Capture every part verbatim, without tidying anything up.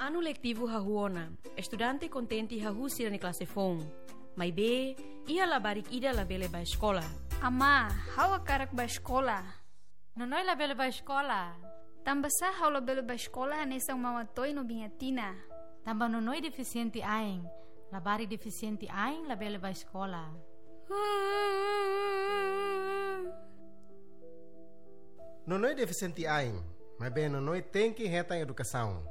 Anu letivu hahú ona, estudante kontente hahú sira-nia klase foun. Maibé, iha labarik ida labele bá eskola. Amá, ha'u hakarak bá eskola. Nonoi labele bá eskola. Tanbasá ha'u labele bá eskola hanesan Maun Atoy no Biin Atina? Tanba Nonoi defisiente ain. Labarik defisiente ain labele bá eskola. Nonoi defisiente ain, maibé Nonoi tenke hetan edukasaun.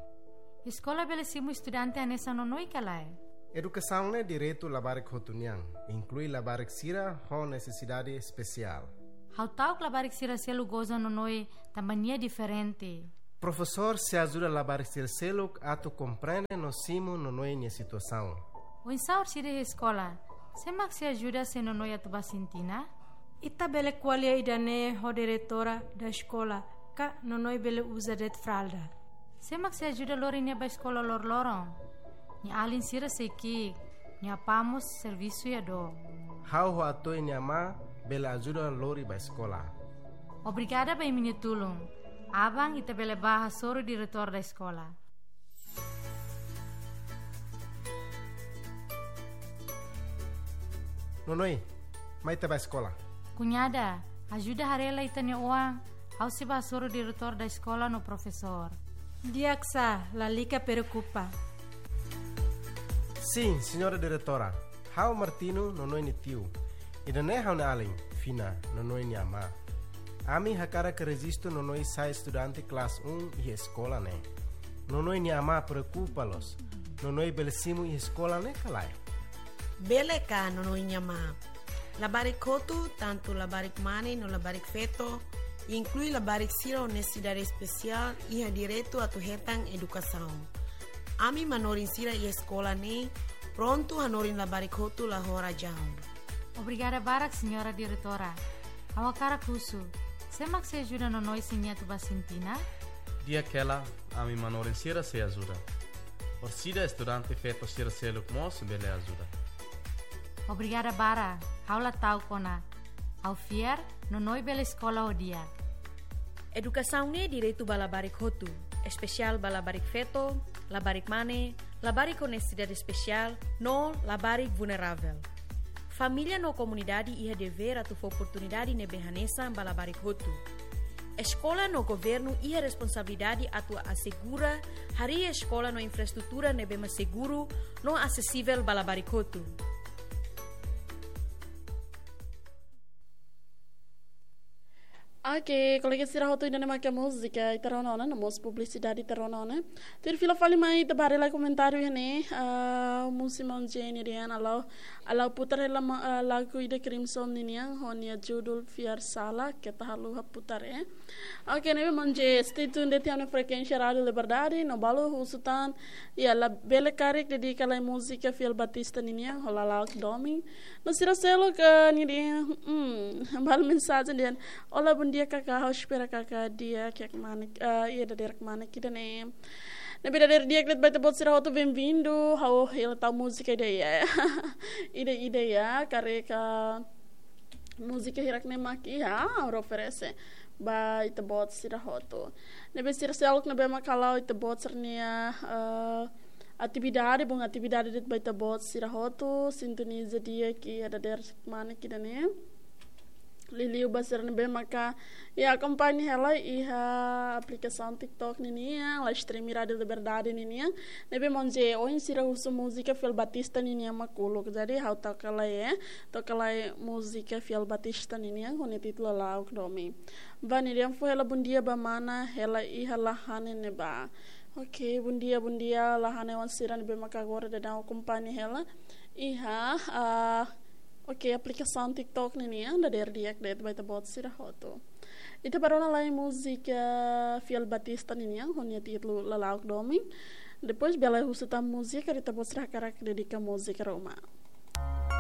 Eskola bele simu estudante hanesan Nonoi ka lae? Edukasaun ne'e direitu labarik hotu nian, inklui labarik sira ho nesesidade espesiál. Ha'u ta'uk labarik sira seluk goza Nonoi tanba nia diferente. Profesór sei ajuda labarik sira seluk atu komprende no simu Nonoi nia situasaun. Oinsá orsida iha eskola, sé mak sei ajuda se Nonoi atu bá sintina? Ita bele ko'alia ida-ne'e ho diretora da eskola, ka Nonoi bele uza de'it fralda. Sé mak sei ajuda lori nia bá eskola loroloron? Nia alin sira sei ki'ik, nia apá mós servisu iha dook. Ha'u ho Atoy nia amá bele ajuda lori bá eskola. Obrigada ba imi-nia tulun. Aban ita bele bá hasoru diretór da eskola. Nonoi, mai ita bá eskola. Kuñada, ajuda haree lai ita-nia oan, ha'u sei bá hasoru diretór da eskola no profesór. Di'ak sá, lalika preokupa. Sin, señora diretora. Ha'u Martino, Nonoi nia tiu. Ida-ne'e ha'u-nia alin, Fina, Nonoi nia amá. Ami hakarak rejistu Nonoi sai estudante klase un iha eskola ne'e. Nonoi nia amá preokupa loos. Nonoi bele simu iha eskola ne'e ka lae? Bele ka, Nonoi nia amá. Labarik hotu, tantu labarik mane no labarik feto, inklui labarik sira ho nesesidade espesiál, iha direitu atu hetan edukasaun. Ami manorin sira iha eskola ne'e prontu hanorin labarik hotu la ho razaun. Obrigada barak, señora diretora. Ha'u hakarak husu, sé mak sei ajuda Nonoi se nia atu bá sintina? Di'ak hela, ami manorin sira sei ajuda. Orsida estudante feto sira seluk mós bele ajuda. Obrigada barak, ha'u la ta'uk ona. Ha'u fiar, Nonoi bele eskola ho di'ak. Edukasaun ne'e direitu ba labarik hotu, espesiál ba labarik feto, labarik mane, labarik ho nesesidade espesiál, no labarik vulneravel. Família no komunidade iha devér atu fó oportunidade ne'ebé hanesan ba labarik hotu. Eskola no governu iha responsabilidade atu asegura harii eskola no infraestrutura ne'ebé mak seguru no asesivel ba labarik hotu. Oke, kolega sira hotu, ida-ne'e mak múzika ita rona ona, no mós publisidade ita rona ona. Tuir fila fali mai ita bá haree lai komentáriu iha ne'e, ah, Musi Maun Jenny Rian, ha'u, ha'u putar hela ma-, ah, lagu ida Crimson ninian, ho nia judul Fiar Sala, keta haluha putar, eh. Oke, ne'ebé Maun J, stay tuned de'it iha ne'e frekuénsia Rádiu Liberdade, no balu husu tan, iha labele karik dedika lai múzika Fiel Batista ninian, ho Lala'ok Domin. No sira seluk, eh, nia dehan, hmm, balu mensajen dehan, "Olá, bom dia, Kaká, ha'u espera Kaká di'ak, kiak mane, eh, iha dadeer mane ida-ne'e." Ne'ebé dadeer di'ak de'it ba ita-boot sira hotu, bem-vindo, ha'u hela tau múzika ida iha. Ida, ida iha, karik, ah, múzika hirak ne'e mak iha, ha'u oferese ba ita-boot sira hotu. Ne'ebé sira seluk ne'ebé mak hala'o ita-boot sira-nia, eh, atividade, bom atividade de'it ba ita-boot sira hotu, sintoniza di'ak iha dadeer mane ida-ne'e. Liuliu ba sira ne'ebé maka, iha, akompaña hela iha aplikasaun TikTok ninian, live stream Rádiu Liberdade ninian. Ne'ebé Maun J, ohin sira husu múzika Fiel Batista ninian mak uluk. Jadi, ha'u toka lai, eh, toka lai múzika Fiel Batista ninian, ho nia títulu Lala'ok Domin. Ba nia dehan fó hela bom dia ba mana hela iha Lahane ne'ebá. Oke, bom dia, bom dia, Lahane oan sira ne'ebé maka agora daudaun akompaña hela iha, ah, oke, aplikasaun TikTok ninian, dadeer di'ak de'it ba ita-boot sira hotu. Ita bá rona lai múzika Fiel Batista ninian, ho nia títulu Lala'ok Domin. Depois bele husu tan múzika, ita-boot sira hakarak dedika múzika ruma.